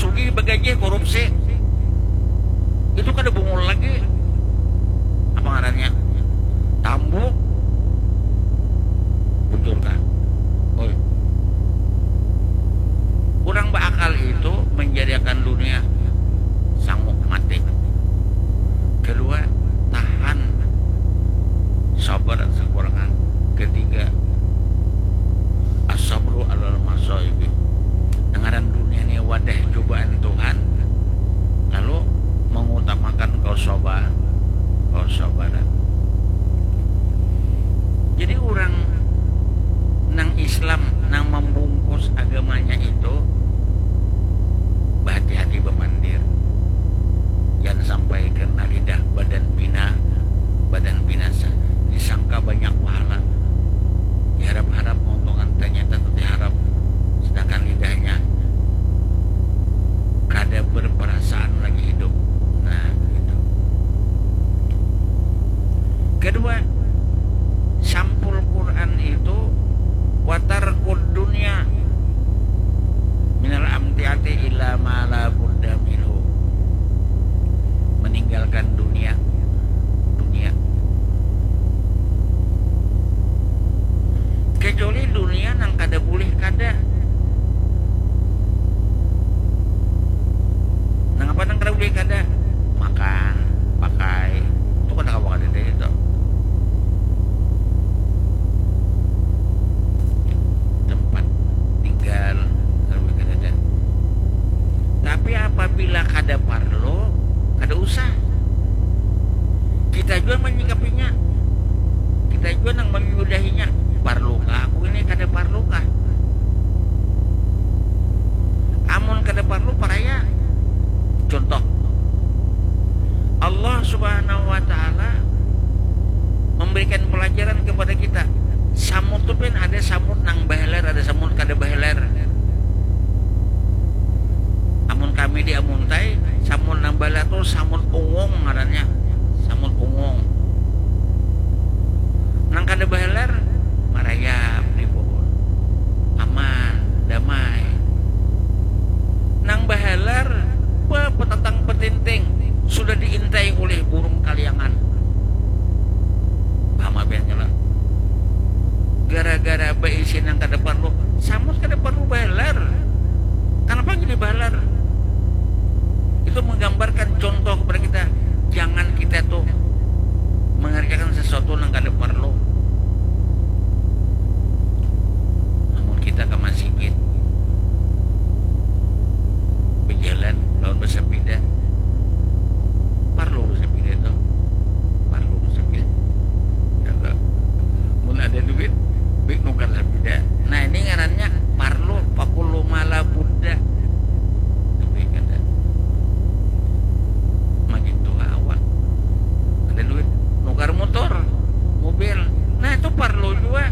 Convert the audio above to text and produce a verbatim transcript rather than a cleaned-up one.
sugih bagajih korupsi. Itu kada bungul lagi. Apa ngarannya? Tambuk. Bujur kah? Oi. Orang beakal itu menjadikan dunia sanggup mati. Kedua, tahan sabar sekurangan. Ketiga, asabru alal masaibi. Ngaran dunia ni wadah cobaan Tuhan, lalu mengutamakan kesabar, kesabaran. Jadi orang nang Islam nang membungkus agamanya itu berhati-hati bemandir. Jangan sampai kena lidah badan bina, badan binasa. Disangka banyak pahala. Diharap-harap keuntungan, ternyata tu diharap. Sedangkan lidahnya kada berperasaan lagi hidup. Nah, gitu. Kedua, sampul Quran itu watar dunia minal amtiati ila ma la budda minhu. Meninggalkan dunia, dunia. Kecuali dunia nang kada boleh kada. Nang apa nang kada boleh kada? Makan, pakai. Itu kada kawa kada dari itu. Tempat tinggal, kada boleh kada ada. Tapi apabila kada parlu, kada usah. Kita jua menyikapinya. Kita jua nang menyudahinya. Parlukah aku ini, kada parlukah? Amun kada parlu, paraya. Contoh, Allah Subhanahu wa Ta'ala memberikan pelajaran kepada kita. Samut tu pin ada samut nang baheler, ada samut kada baheler. Amun kami di Amuntai, samut nang baheler tu samut unggung ngarannya. Samut unggung. Nang kada baheler, marayap di pohon. Aman, damai. Nang baheler, bepetatang betinting, sudah diintai oleh burung kaliangan. Paham apa yang nyala? Gara-gara baisi nang kada parlu, samut kada parlu baheler. Kenapa jadi baheler? Itu menggambarkan contoh kepada kita, jangan kita tuh mengerjakan sesuatu nang kada parlu. Namun kita ke masjid, berjalan lawan bersepeda, parlu bersepeda tuh, parlu bersepeda. Ya, tak. Mun ada duit, bik nukar sepeda. Nah, ini ngarannya parlu, pakulu mala buddha. Tapi kada. Makin tua awak. Ada duit, nukar motor, mobil. Nah, itu parlu juga.